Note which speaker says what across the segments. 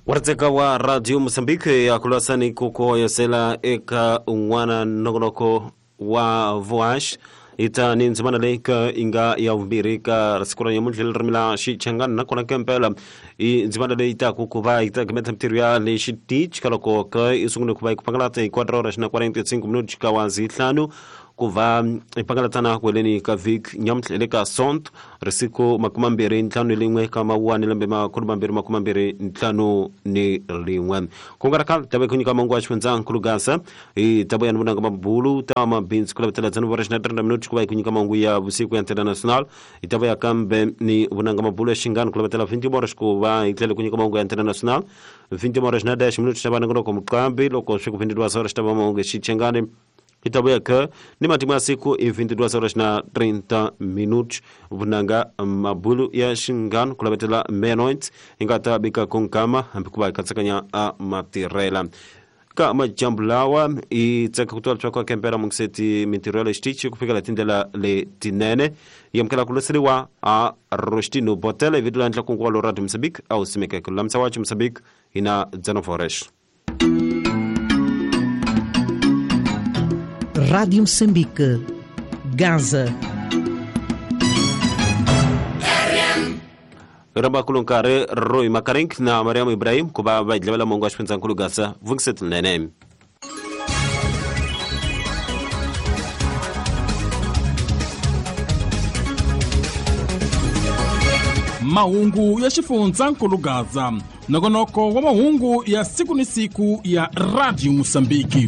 Speaker 1: Waritseka wa Radio Mozambique ya kulasani kukoyosela eka un'wana nongonoko wa voash ita ni ndzimana leyi ka inga ya vumbirhi ka siku ra nyamuntlha ririmi la Xichangani nakona kempela i ndzimana leyi taku ku va yi ta gimeta mintirho ya le xitichi ka loko ka i sungule ku va yi ku pangalata hi 4 horas na 45 minutos ka wa zihlanu ku va hi pangalatana ku heleni ka vhiki nyamuntlha le ka Sonto risiku 25 ka Mawuwani lembe 2021. Ku nga ri khale ta ve ku nyika mangu wa xifundzankulu Gaza hi ta vuya ni vunanga mabulu ta mabindzu ku lavetela dzana vora xina 30 minutos ku va hi ku nyika mangu ya vusiku ya International hi ta vuya kambe ni vunanga mabulu ya xingani ku lavetela 20 horas ku va hi tlhela ku nyika mangu ya International 20 horas na 10 minutos ta va nongonoko muqambi loko swi ku 22 horas ta va mangu ya Xichangani hi ta vuya ka ni matimu ya siku i 22 horas na 30 minutos vunanga mabulu ya xingano ku lavetela meia-noite hi nga ta bika kunkama hambi ku va hi katsakanya a matirhela ka majambu lawa i tsaka ku twa leswaku a kempela mungiseti mintirho ya le xitichi ku fikela tindlela letinene yi amukela ku loseriwa a Rostino Botela hi vito la ndlakungu wa lo Radio Mozambique a wu simekeke lulamisa wacho Mozambique hi na 19 horas.
Speaker 2: Rádio Moçambique, Gaza.
Speaker 1: Ramba kulunkare Roy Makarink na Mariam Ibrahim ku va va hi dlavela mongo wa xifundzankulu Gaza vungiset nene.
Speaker 3: Mahungu ya xifundzankulu Gaza, nongonoko wa mahungu ya siku ni siku ya Radio Mozambique.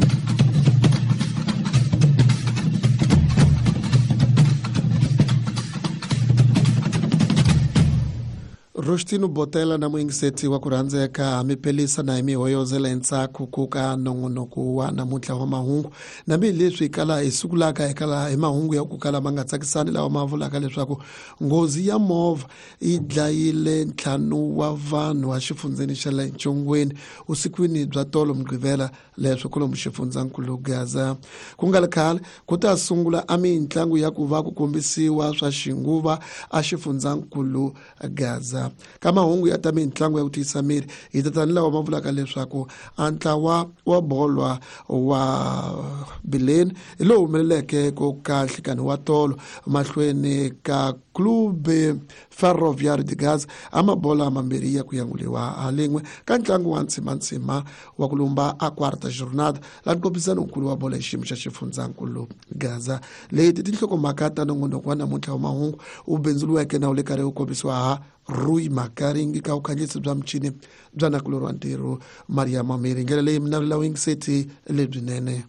Speaker 4: Rostino Botela na muyingiseti wa ku rhandzeka mi pelisa na hi mihoyozela entshaku ku ka nongonoko wa namuntlha wa mahungu nambi leswi kala hi sungulaka hi kala hi mahungu ya ku kala ma nga tsakisani lawa ma vulaka leswaku nghozi ya movha yi dlayile 5 wa vanhu exifundzheni xa le Ntshongweni vusikwini bya tolo Mugqivela leswi kwalomu xifundzankulu Gaza. Ku nga ri khale ku ta sungula a mitlangu ya ku va ku kombisiwa swa xinguva a xifundzankulu Gaza. Ka mahungu ya ta mitlangu ya ku tiyisa miri hi tatani lawa ma vulaka leswaku a ntlawa wa bolo wa Bileni hi lowu humeleleke ko ka nhlikani wa tolo mahlweni ka Clube Ferroviário de Gaza a mabola mambirhi ya ku yanguliwa ha lin'we ka ntlangu wa ntsimantsima wa ku lumba a quarta jornada la nkombisano nkulu wa bolo hi xiyimo xa xifundzankulu Gaza. Leti tinhlokomhaka ta nongonoko wa namuntlha wa mahungu wu bindzuriweke na wu le karhi wu kombisiwa ha Rui Makaringi ka vukhanyisi bya michini bya nakulorhi wa ntirho Maria Mamiri. Ndlela leyi mi navela vuyingiseti lebyinene.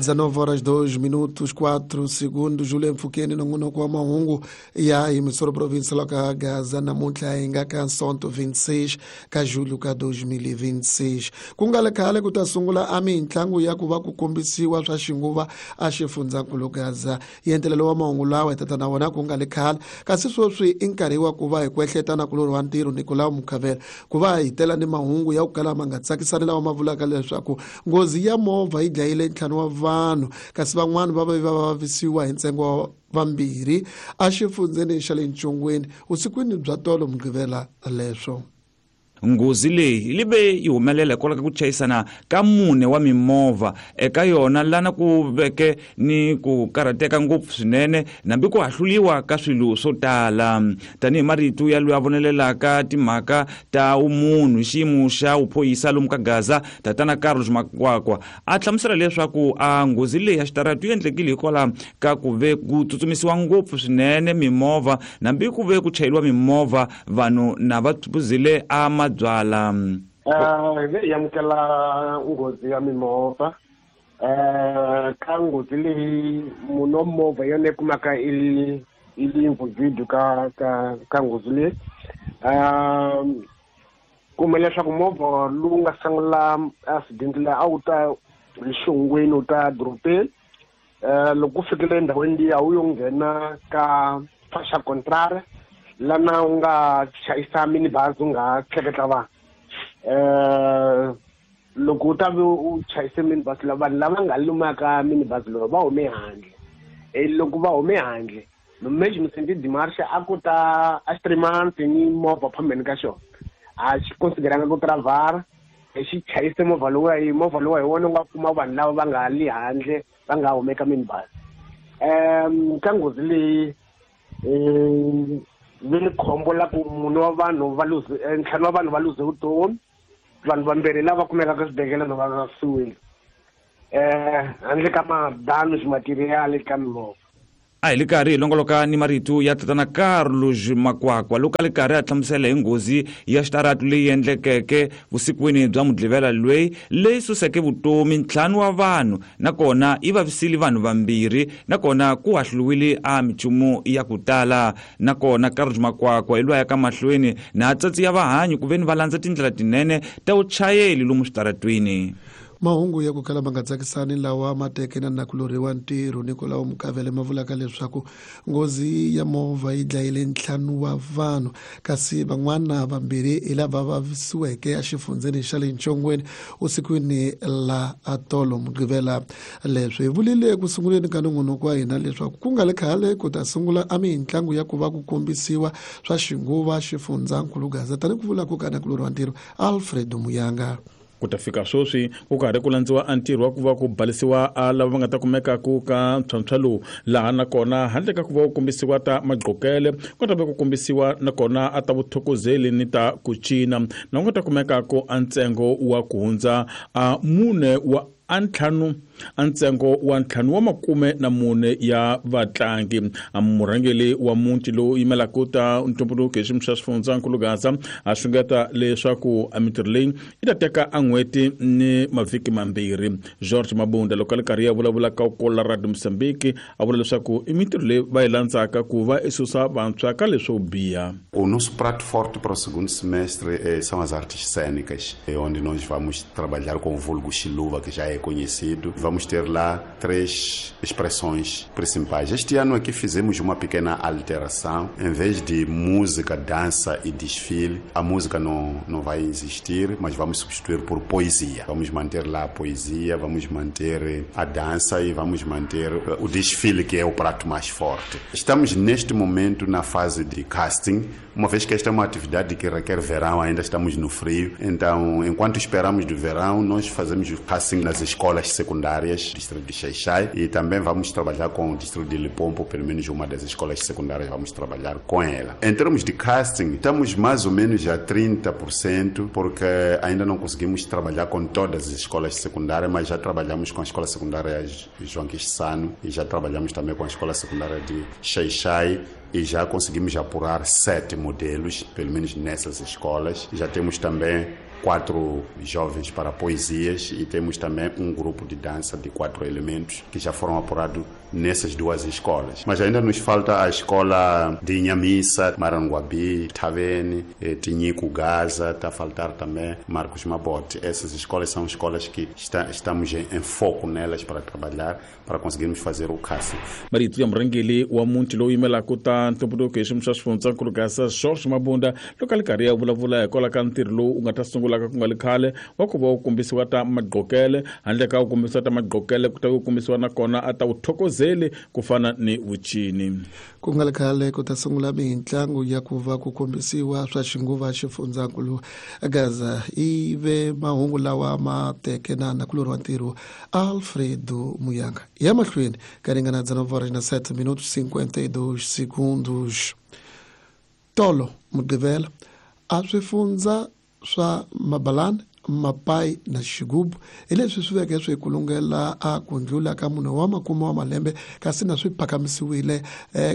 Speaker 4: 19 horas 2 minutos 4 segundos. Julian Fukeni nongonoko wa mahungu ya emissora provincial ka Gaza namuntlha hi nga ka Sonto 26 ka julho ka 2026. Ku nga ri khale ku ta sungula a mitlangu ya ku va ku kombisiwa swa xinguva a xifundzankulu Gaza. Yentelelo wa mahungu lawa hi tata na wona ku nga ri khale, kasi sweswi i nkarhi wa ku va hi kwehleta na kulorhi wa ntirho Nicolau Mukhavela ku va hi tela ni mahungu ya ku kala ma nga tsakisani lawa ma vulaka leswaku nghozi ya movha yi dlayile 5 wa vanhu kasi van'wana va va vavisiwa hi ntsengo wa 2 exifundzheni xa le Ntshongweni vusikwini bya tolo Mugqivela leswo.
Speaker 5: Nghozi leyi yi ve yi humelela hikwalaho ka ku chayisana ka 4 wa mimovha eka yona lana ku veke ni ku karhateka ngopfu swinene nambi ku hahluliwa ka swilo swo tala. Tanihi marito ya loyi a vonelelaka timhaka ta vumunhu hi xiyimo xa vuphorisa lomu ka Gaza, Tatana Carlos Makwakwa a hlamusela leswaku a nghozi leyi ya xitarata yi endlekile hikwalaho ka ku ve ku tsutsumisiwa ngopfu swinene mimovha nambi ku ve ku chayeriwa mimovha vanhu na va phuzile a mabyala.
Speaker 6: Hi amukela nghozi ya mimovha. Ka nghozi leyi munhu wa movha yona yi kumaka i li involved ka nghozi leyi. Kuma leswaku movha lowu nga sungula accident leyi a wu ta hi xongweni wu ta dorobeni. Loko ku fikile endhawini liya wu yo nghena ka faixa contrária lana u nga chayisa minibus u nga tleketla vanhu. Loko u ta ve u chayise minibus la, vanhu lava nga lumaka minibus lowu va hume handle. Loko va hume handle, mesmo sentido de marcha a ku ta a xitrimantsi ni movha phambeni ka xona, a xi consideranga ku travar, xi chayise movha lowuya. Hi movha lowuya hi wona u nga kuma vanhu lava va nga li handle, va nga humeka minibus. Ka nghozi leyi vi ni khombo la ku mune wa vanhu va luze, ntlhanu wa vanhu va luze vutomi, vanhu vambirhi lava kumekaka eswibedhlele va vavisiwile, handle ka ma-damage material ka mimovha.
Speaker 5: A hi le karhi hi longoloka ni marito ya tatana Carlos Makwakwa loko a le karhi a hlamusela hi nghozi ya xitaratu leyi endlekeke vusikwini bya Mugqivela lweyi, leyi suseke vutomi ntlhanu wa vanhu, nakona yi vavisile vanhu vambirhi, nakona ku hahluliwile a minchumu ya ku tala. Nakona Carlos Makwakwa hi lwaya ka mahlweni na atsatsi ya vahanyi ku veni va landza tindlela tinene ta vuchayeli lomu switaratwini.
Speaker 4: Mahungu ya ku kala ma nga tsakisani lawa ma teke na nakulorhi wa ntirho Nikolao Mukavele ma vulaka leswaku nghozi ya movha yi dlayile 5 wa vanhu, kasi van'wana vambirhi hi lava vavisiweke exifundzheni xa le Ntshongweni usikwini la atolo Mugqivela. Leswi hi vulile ku sunguleni ka nongonoko wa hina leswaku ku nga le khale ku ta sungula a mitlangu ya ku va ku kombisiwa swa xinguva xifundzankulu Gaza, tani ku vula ku ka nakulorhi wa ntirho Alfred Muyanga.
Speaker 3: Ku ta fika sweswi ku karhi ku landziwa a ntirho wa ku va ku balisiwa a lava va nga ta kumeka ku ka ntlhontlho lowu, laha nakona handle ka ku va ku kombisiwa ta magqokele ku ta va ku kombisiwa nakona a ta vuthokozeli ni ta ku cina, na ku nga ta kumeka ku a ntsengo wa ku hundza a mune wa a ntlhanu, a ntsengo wa ntlhanu wa makume na mune ya vatlangi. A murhangeri wa muti lowu yimelaka ta ntumbuluko hi xiyimo xa xifundzankulu Gaza a xungeta leswaku a mintirho leyi yi ta teka a n'hweti ni mavhiki mambirhi. George Mabunda loko a le karhi ya vulavula ka Kola Radio Mozambique a vula leswaku i mintirho leyi va yi landzaka ku va i susa vantshwa ka leswo biha.
Speaker 7: O nosso prato forte para o segundo semestre são as artes cênicas, onde nós vamos trabalhar com o vulgo Xiluva, que já é conhecido. Vamos ter lá 3 expressões principais. Este ano aqui fizemos uma pequena alteração. Em vez de música, dança e desfile, a música não vai existir, mas vamos substituir por poesia. Vamos manter lá a poesia, vamos manter a dança e vamos manter o desfile, que é o prato mais forte. Estamos neste momento na fase de casting, uma vez que esta é uma atividade que requer verão, ainda estamos no frio. Então, enquanto esperamos do verão, nós fazemos o casting nas escolas secundárias do distrito de Xai-Xai e também vamos trabalhar com o distrito de Limpopo, pelo menos uma das escolas secundárias vamos trabalhar com ela. Em termos de casting, estamos mais ou menos a 30%, porque ainda não conseguimos trabalhar com todas as escolas secundárias, mas já trabalhamos com a escola secundária João Quixano e já trabalhamos também com a escola secundária de Xai-Xai e já conseguimos apurar 7 modelos, pelo menos nessas escolas. Já temos também 4 jovens para poesias e temos também um grupo de dança de 4 elementos que já foram apurados nessas 2 escolas. Mas ainda nos falta a escola de Inhamissa, Maranguabi, Tavene, Tinhico, Gaza, está a faltar também Marcos Mabote. Essas escolas são escolas que estamos em foco nelas para trabalhar, para conseguirmos fazer o casting.
Speaker 3: Marito ya murhangeri wa muti lowu yimelaka ta ntumbuluko hi xiyimo xa xifundzankulu Gaza George Mabunda loko a le karhi ya vulavula hikwalaho ka ntirho lowu wu nga ta sungulaka ku nga le khale wa ku va wu kombisiwa ta magqokele. Handle ka ku kombisiwa ta magqokele ku ta ku kombisiwa nakona a ta vuthokozeli ku fana ni vucini.
Speaker 4: Ku nga le khale ku ta sungula mitlangu ya ku va ku kombisiwa swa xinguva xifundzankulu Gaza. I ve mahungu lawa ma teke na nakulorhi wa ntirho Alfredo Muyanga. Ya mahlweni ka ringana 19 horas minutos 52 segundos. Tolo Mugqivela a swifundza swa Mabalani, Mapai na Xigubu hi leswi swi veke swi kulungela a ku ndlula ka munhu wa makume wa malembe, kasi na swi phakamisiwile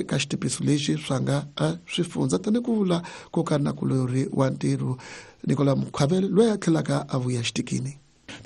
Speaker 4: ka xitipiso lexi swa nga swifundza, tani ku vula ku ka nakulorhi wa ntirho Nicolas Mukhavele loyi a tlhelaka a vuya xitikini.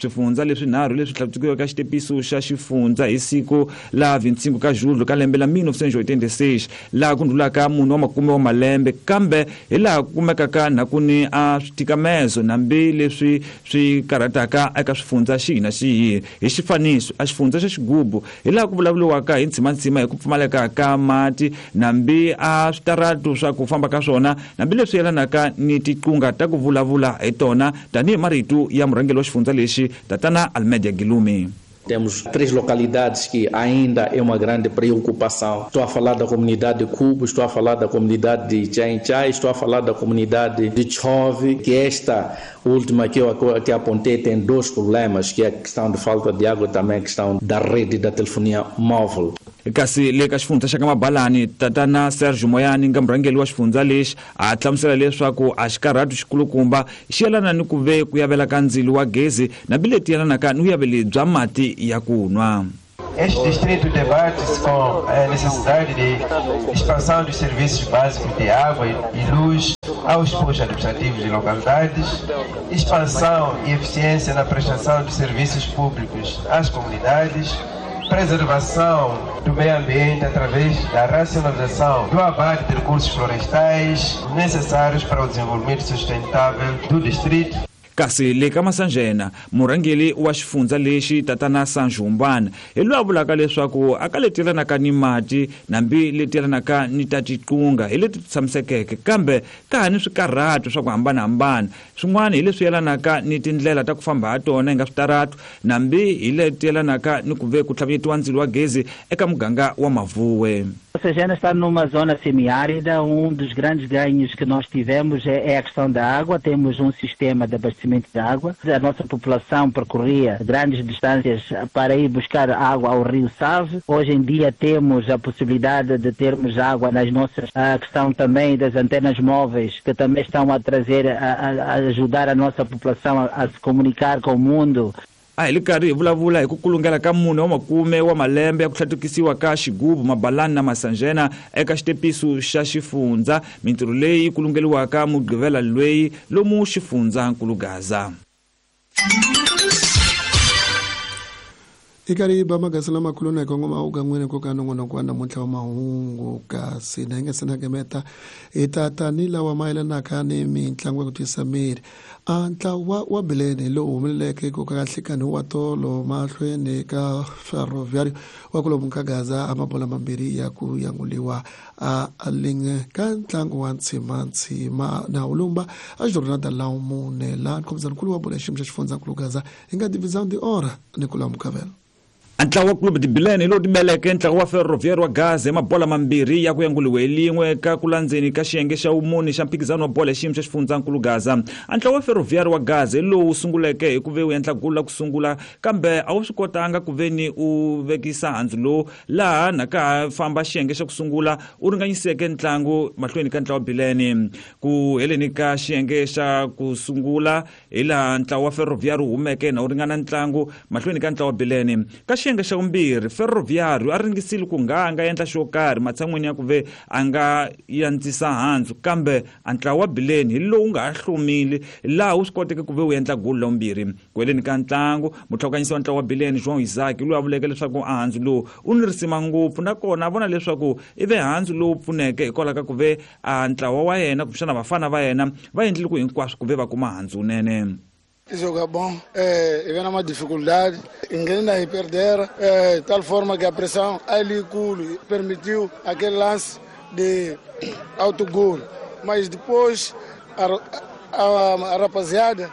Speaker 5: Swifundza leswinharhu leswi hlawuriweke xitepiso xa xifundza hi siku la 25 ka Julho ka lembe la 1986 laha ku ndlulaka munhu wa makume wa malembe, kambe hi laha ku kumekaka na ku ni a switikamezo nambi leswi swi karhataka eka swifundza xihi na xihi. Hi xifaniso, a xifundza xa Xigubu hi laha ku vulavuriwaka hi ntsimantsima hi ku pfumaleka ka mati nambi a switaratu swa ku famba ka swona nambi leswi yelanaka ni tiqunga ta ku vulavula hi tona tanihi marito ya murhangeri wa xifundza lexi tatana Almeida Gilumi.
Speaker 8: Temos 3 localidades que ainda é uma grande preocupação. Estou a falar da comunidade de Cubo, estou a falar da comunidade de Tchainchai, estou a falar da comunidade de Tchove, que esta última que eu que apontei tem 2 problemas, que é a questão de falta de água e também a questão da rede da telefonia móvel.
Speaker 5: Kasi le ka xifundza xa ka Mabalani, tatana Sergio Moyani nga murhangeri wa xifundza lexi a hlamusela leswaku a xikarhatu xikulukumba xi yelana ni ku ve ku yavela ka ndzilo wa gezi na bileti yelanaka ni vuyaveli bya mati ya ku nwa.
Speaker 9: Este distrito debate-se com a necessidade de expansão dos serviços básicos de água e luz aos postos administrativos de localidades, expansão e eficiência na prestação de serviços públicos às comunidades, preservação do meio ambiente através da racionalização do abate de recursos florestais necessários para o desenvolvimento sustentável do distrito.
Speaker 5: Kasi le ka Masanjena, murhangeri wa xifundza lexi tatana Sanjumbana hi loyi a vulaka leswaku a ka leti yelanaka ni mati nambi leti yelanaka ni ta tiqunga hi leti tshamisekeke, kambe ka ha ni swikarhato swa ku hambanahambana. Swin'wana hi leswi yelanaka ni tindlela ta ku famba ha tona hi nga switaratu nambi hi leti yelanaka ni ku ve ku tlhavetiwa ndzilo wa gezi eka muganga wa Mavuwe.
Speaker 10: Massangena está numa zona semiárida. Um dos grandes ganhos que nós tivemos é a questão da água. Temos um sistema de abastecimento de água. A nossa população percorria grandes distâncias para ir buscar água ao rio Save. Hoje em dia temos a possibilidade de termos água nas nossas... A questão também das antenas móveis, que também estão a trazer, a ajudar a nossa população a se comunicar com o mundo.
Speaker 5: A hi le karhi hi vulavula hi ku kulungela ka munhu wa makume wa malembe ya ku hlatukisiwa ka Xigubu, Mabalani na Masanjena eka xitepiso xa xifundza, mintirho leyi kulungeliwaka Mugqivela loyi lomu xifundzankulu Gaza.
Speaker 4: Ikariba magazini lamakulu na kongoma ugan'wini ku ka nongonoko wa namuntlha wa mahungu kasi na hi nga se na gemeta hi ta tani lawa mayelanaka ni mitlangu ya ku twisa miri. A ntlawa wa Bilene lowu humeleleke ku ka nhlikani wa tolo mahlweni ka Ferroviário wa kulomu ka Gaza a mabola mambirhi ya ku yanguliwa a linge ka ntlangu wa ntsimantsima na ulumba a jornada la mune la nkhomzankulu wa bola xiyimo xa xifundzankulu Gaza hi nga divisão de hora ni ku lamukavela.
Speaker 5: Ntlawa wa Clube de Bilene lowu timeleke ntlawa wa Ferroviário wa Gaza hi mabola mambirhi ya ku yanguliwe hi lin'we ka ku landzeni ka xiyenge xa vumune xa mphikizano wa bola xiyimo xa xifundzankulu Gaza. Ntlawa wa Ferroviário wa Gaza hi lowu sunguleke hi ku ve wu endla gulu la ku sungula, kambe a wu swi kotanga ku ve ni u vekisa handzu lowu laha na ka ha famba xiyenge xa ku sungula u ringanyiseke ntlangu mahlweni ka ntlawa wa Bilene. Ku heleni ka xiyenge xa ku sungula hi laha ntlawa wa Ferroviário wu humeke na wu ringana ntlangu mahlweni ka ntlawa wa Bilene. Ka xiyenge xa vumbirhi, Ferroviário a ringisile ku nga a nga endla xo karhi matshan'wini ya ku ve a nga yandzisa handzu, kambe a ntlawa wa Bilene hi lowu nga ha hlomile laha wu swi koteke ku ve wu endla gulu la vumbirhi. Ku heleni ka ntlangu, mutlhokanyisi wa ntlawa wa Bilene João Isaac loyi a vuleke leswaku a handzu lowu u ni risima ngopfu, nakona a vona leswaku i ve handzu lowu pfuneke hikwalaho ka ku ve a ntlawa wa yena kumbexana vafana va yena va endlile ku hinkwaswo ku ve va kuma handzu wunene.
Speaker 11: Joga bom, e vem uma dificuldade, ninguém aí perder, de tal forma que a pressão ali permitiu aquele lance de autogol. Mas depois a rapaziada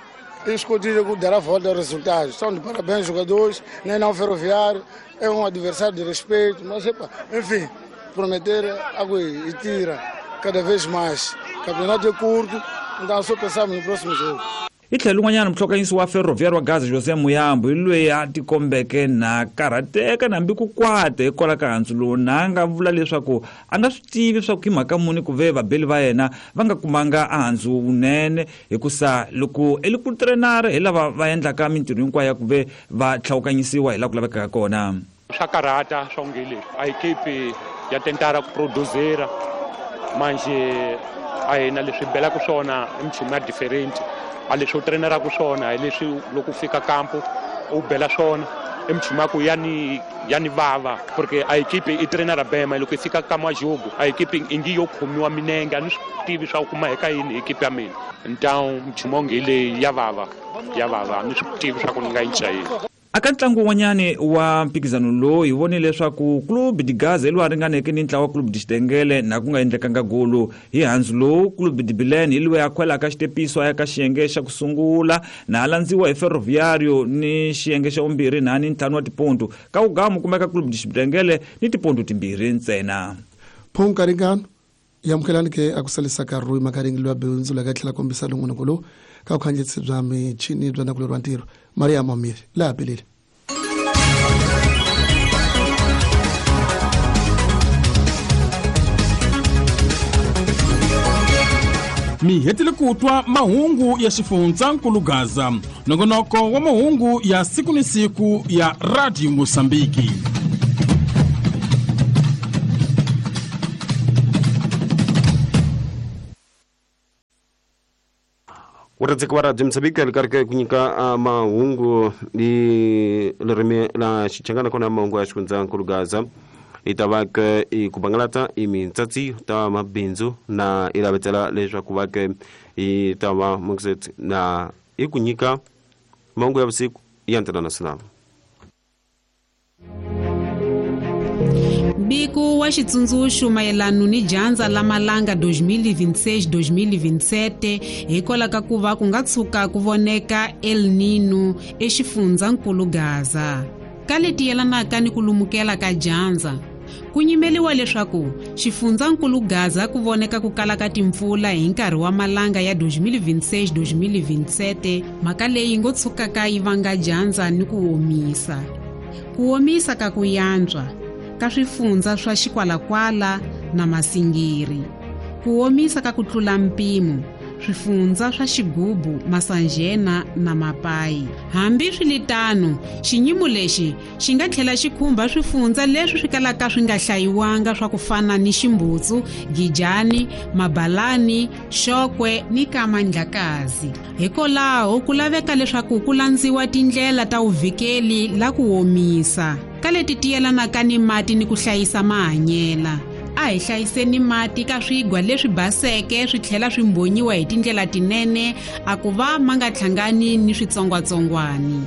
Speaker 11: escondida dará a volta ao resultado. São de parabéns jogadores, nem não Ferroviário, é um adversário de respeito, mas epa, enfim, prometer água e tira cada vez mais. O campeonato é curto, então só pensamos no próximo jogo.
Speaker 5: Hi tlhelo un'wanyana muhlokanyisi wa Ferroviário wa Gaza José Muyambo hi loyi a tikombeke na karhateka nambi ku kwata hikwalaho ka handzu lowu, na a nga vula leswaku a nga swi tivi swa ku hi mhaka muni ku ve vabeli va yena va nga kumanga a handzu wunene, hikusa loko i li ku trenara hi lava va endlaka mintirho hinkwayo ya ku ve va tlhawukanyisiwa hi laha ku lavekaka kona.
Speaker 12: Swa karhata swa onge leswi a ekipi ya tentara ku producera manje a hina leswi belaka swona i minchumu ya different. A leswi u treneraka swona hi leswi loko u fika kampo u bela swona i minchumu ya ku ya ni vava porque a ekipe i trainera bema loko i fika ka majogo a ekipe ingi yo khomiwa minenge a ni swi tivi swa ku kuma eka yini ekipe ya mina então minchumu onge leyi ya vava a ni swi tivi swa ku ni nga yi yini.
Speaker 5: Aka ntlangu wun'wanyani wa mphikizano lowu hi vonile leswaku Clube de Gaza hi lowu a ringaneke ni ntlawa wa Clube de Xitengele na ku nga endlekanga golo hi handzu lowu. Clube de Bilene hi loyi a khwelaka xitepiso a ya ka xiyenge xa ku sungula na a landziwa hi Ferroviário ni xiyenge xa vumbirhi na ni 5 wa tiponto. Ka wugamu kumeka Clube de Xitengele ni tiponto timbirhi ntsena.
Speaker 4: Phonkaringano yamukelani ke a ku salisaka rui makaringi loyi a bindzu la ka tlhela kombisa nongonoko lowu ka vukhandziyisi bya michini bya nakulorhi wa ntirho Maria Mamiri laha pelele.
Speaker 3: Mi hetile ku twa mahungu ya xifundzankulu Gaza, nongonoko wa mahungu ya siku ni siku ya Radio Mosambiki.
Speaker 1: Uradzika wa Radio Mosambiki alikarika kunyika mahungu ni lerime la xichangana kona mahungu ya xifundzankulu Gaza itavaka ikubangalata imintsatsi ta mabindzu na ilavetsela leswaku va ke itava mukset na ikunyika mahungu ya vusiku ya international.
Speaker 13: Mbiko wa xitsundzuxo mayelana ni dyandza la malanga 2026-2027 hikwalaho ka ku va ku nga tshuka ku voneka El Nino exifundzankulu Gaza. Ka leti yelanaka ni ku lumukela ka dyandza, ku nyimeliwa leswaku xifundzankulu Gaza ku voneka ku kala ka timpfula hi nkarhi wa malanga ya 2026-2027, mhaka leyi ngo tshukaka yi vanga dyandza ni ku omisa. Ku omisa ka ku yantswa ka swifundza swa Xikwalakwala na Masingiri, ku omisa ka ku tlula mpimo swifundza swa Xigubu, Masanjena na Mapayi. Hambi swiritano, xinyimo lexi xi nga tlhela xi khumba swifundza leswi swi kalaka swi nga hlayiwanga swa ku fana ni Ximbutsu, Gijani, Mabalani, Xokwe ni Kamandlakazi. Hikwalaho ku laveka leswaku ku landziwa tindlela ta vuvikeli la ku omisa ka leti ti yelanaka ni mati ni ku hlayisa mahanyela. A hi hlayiseni mati ka swigwa leswi baseke swi tlhela swi mbonyiwa hi tindlela tinene a ku va ma nga hlangani ni switsongwatsongwani.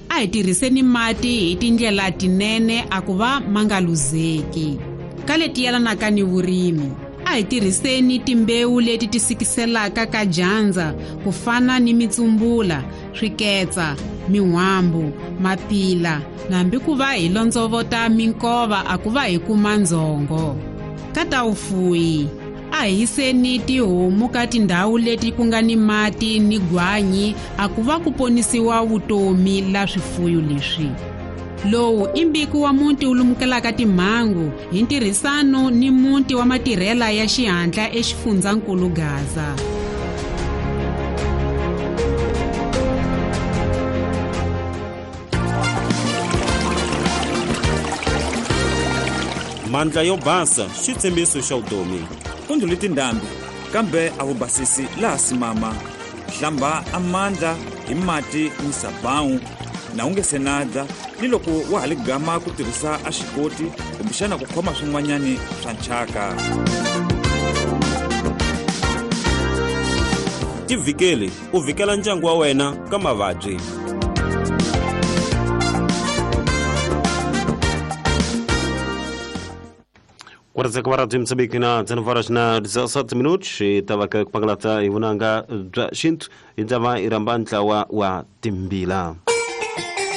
Speaker 13: A hi tirhiseni mati hi tindlela tinene a ku va ma nga luzeki. Ka leti yelanaka ni vurimi, a hi tirhiseni timbewu leti ti sikiselaka ka dyandza ku fana ni mitsumbula, swiketsa, min'wambu, mapila, nambi ku va hi londzovota minkova a ku va hi kuma ndzhongo. Ka ta vufuwi, a hi yiseni tihomu ka tindhawu leti ku nga ni mati ni gwanyi a ku va ku ponisiwa vutomi la swifuyo leswi. Lowu i mbiko wa muti wu lumukelaka timhangu hi ntirhisano ni muti wa matirhela ya xihatla exifundzankulu Gaza.
Speaker 1: Mandla yo basa xitshembiso xa vutomi.
Speaker 5: Ku ndlhule tindhambi kambe a vubasisi laha simama. Hlamba amandla hi mati ni sabawu na u nge se na dya ni loko wa ha li gama ku tirhisa a xikoti kumbexana ku khoma swin'wanyani swa nchaka.
Speaker 1: Tivhikeli u vhikela ndyangu wa wena ka mavabyi. Quarta Radio Moçambique na 19:17 minutos e tava ku pangalata hi vunanga bya xintu hi ndava i rhamba ntlawa wa timbila.